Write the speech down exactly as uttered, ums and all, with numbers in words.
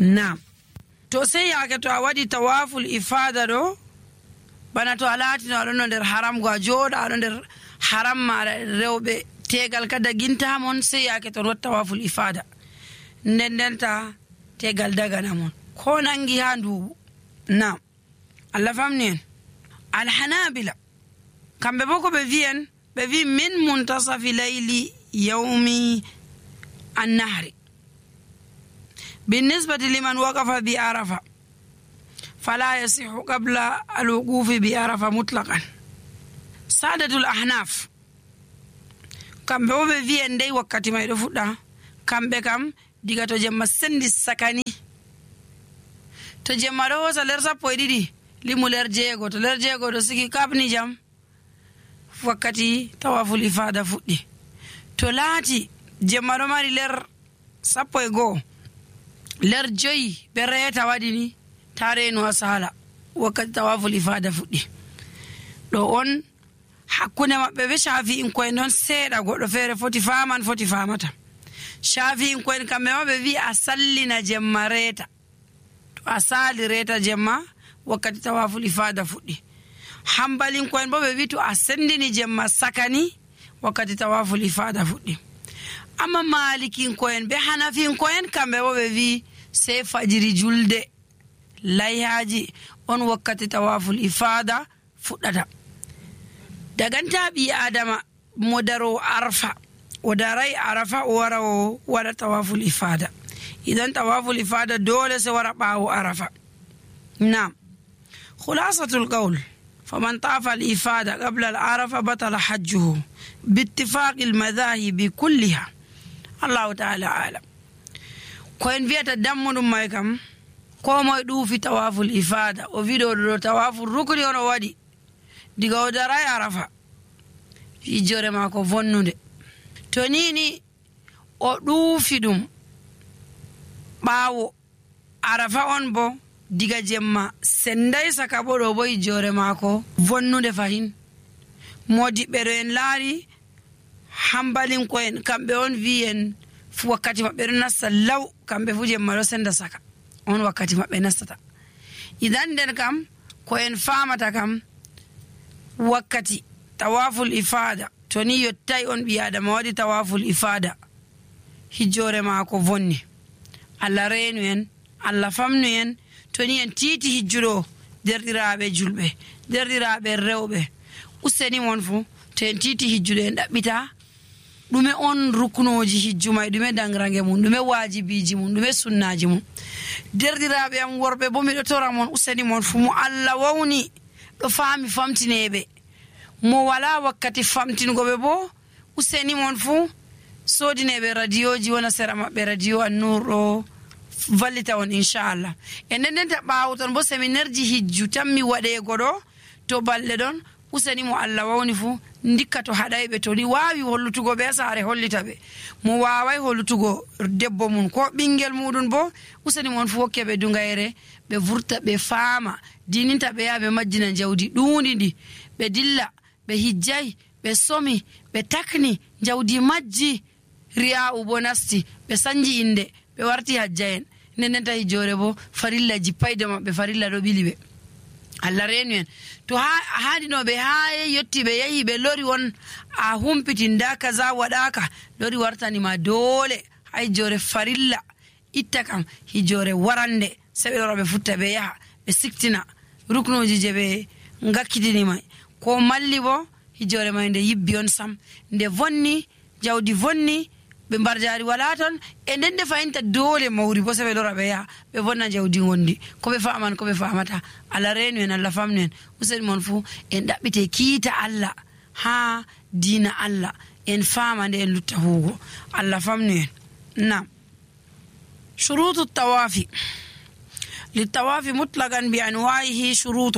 Naam. To sey yaake to a waɗi tawaful ifada ɗo bana to a laatino aɗon no nder haram go a jooɗa aɗo nder haram maɗa rewɓe tegal ka dagintamon sey yaake ton waɗi tawaful ifada nden ndenta tegal dagana mon ko nangi ha nduuɓu. Naam. Allah famni en. Alhanabila kamɓe bo ko ɓe wi'en ɓe wi min muntasafi layli yawmi annahri بالنسبة لمن وقف بعرفة فلا يصح قبل الوقوف بعرفة مطلقا. سادة الأحناف كم بوبي في اندي وقت ما يدفودا كم بكم ديغا تو جمع سندي سكاني تو جمع روسا لرسا بويدي limu ler jeego to ler jeego to sigi kabni jam wakkati tawaful ifada fuɗɗi. To laati jemma ɗo mari ler sappo e goo ler joyi ɓe reeta waɗi ni ta reeno a sala wakkati tawaful ifada fuɗɗi. ɗo on hakkunde maɓɓe ɓe shafi'in koyen ɗon seeɗa goɗɗo feere foti faman foti famata. Shafi'in koyen kamɓe ma ɓe wi a sallina jemma reeta to a sali reeta jemma wakkati tawaful ifada fuɗɗi. Hambalin koyen bo ɓe wi to a sendini jemma sakani wakkati tawaful ifada fuɗɗi. Amma malikin koyen be hanafin koyen kamɓe bo ɓe wi sey fajiri julde layhaji on wakkati tawaful ifada fuɗɗata. Daganta ɓi adama mo daro arfa o darai arafa o wara o waɗa tawaful ifada. Idan tawaful ifada dole se wara ɓawo arafa. Naam. خلاصة القول فمن طاف الإفادة قبل العرفة بطل حجه باتفاق المذاهب كلها. الله تعالى أعلم. كوين فيها تدمر مايكم كوما يدو في تواف الإفادة وفيدو دو تواف الركن ونوادي ديغو دراي عرفة في جوري ماكو فنو دي تونيني ودو في دوم باو عرفة on bo diga jemma sendai saka bo ɗo bo jore maako vonnude fahin. Modiɓɓe ɗo en laari hambalin ko en kamɓe on wi en fu wakkati maɓɓe ɗo nasta law kamɓe fu jemma ɗo senda saka on wakkati maɓɓe nastata. Idan nden kam ko en famata kam wakkati tawaful ifada to ni yottai on ɓi adama waɗi tawaful ifada hijjore maako vonni. Allah reenu en Allah famnu en toni en titi hijjuɗo derɗiraɓe julɓe derɗiraɓe rewɓe useni mon fu to en titi hijjuɗo en ɗaɓɓita ɗume on ruknoji hijju may ɗume dangrange mum ɗume wajibiji mum ɗume sunnaji mum. Derɗiraɓe am worɓe bo miɗo tora mon useni mon fu mo Allah wawni ɗo faami famtineɓe mo wala wakkati famtingoɓe bo useni mon fu sodineɓe radioji wona sera maɓɓe radio An-Nur ɗo vallita on inchallah. E nden nden ta ɓaawo ton bo séminaire ji hijju tan mi waɗeego ɗo to balɗe ɗon useni mo Allah wawni fu ndikka to haɗayɓe to ni waawi hollutugo ɓe saare hollita ɓe mo waaway hollutugo debbo mum ko ɓinguel muɗum bo useni mon fu hokke ɓe dungayre ɓe vurta ɓe faama dininta ɓe yaha ɓe majjina jawdi ɗuundi ndi ɓe dilla ɓe hijjay ɓe somi ɓe takni jawdi majji riya'u bo nasti ɓe sanji inde ɓe warti hajja en nden nden tawi jore bo farilla jippayde maɓɓe farilla ɗo ɓili ɓe. Allah reenu en to ha haɗinoɓe ha yetti ɓe yahi ɓe lori won a humpiti nda kaza waɗaka lori wartanima dole hay jore farilla itta kam hijore warande seɓe lora ɓe futta ɓe yaha ɓe siktina ruknoji je ɓe ngakkitini ko malli bo hijore may nde yibbi on sam nde vonni jawdi vonni ɓe mbarjari wala ton e nden nde fayinta dole mawri bo seɓe lora ɓe yaha ɓe vonna jawdi gondi koɓe faman koɓe famata. Allah reenu en Allah famnu en useni mon fu en ɗaɓɓite kiita Allah ha dina Allah en fama nde en lutta huugo. Allah famnu en. Nam. shurutu tawafi للطواف مطلقا بأنواعه شروط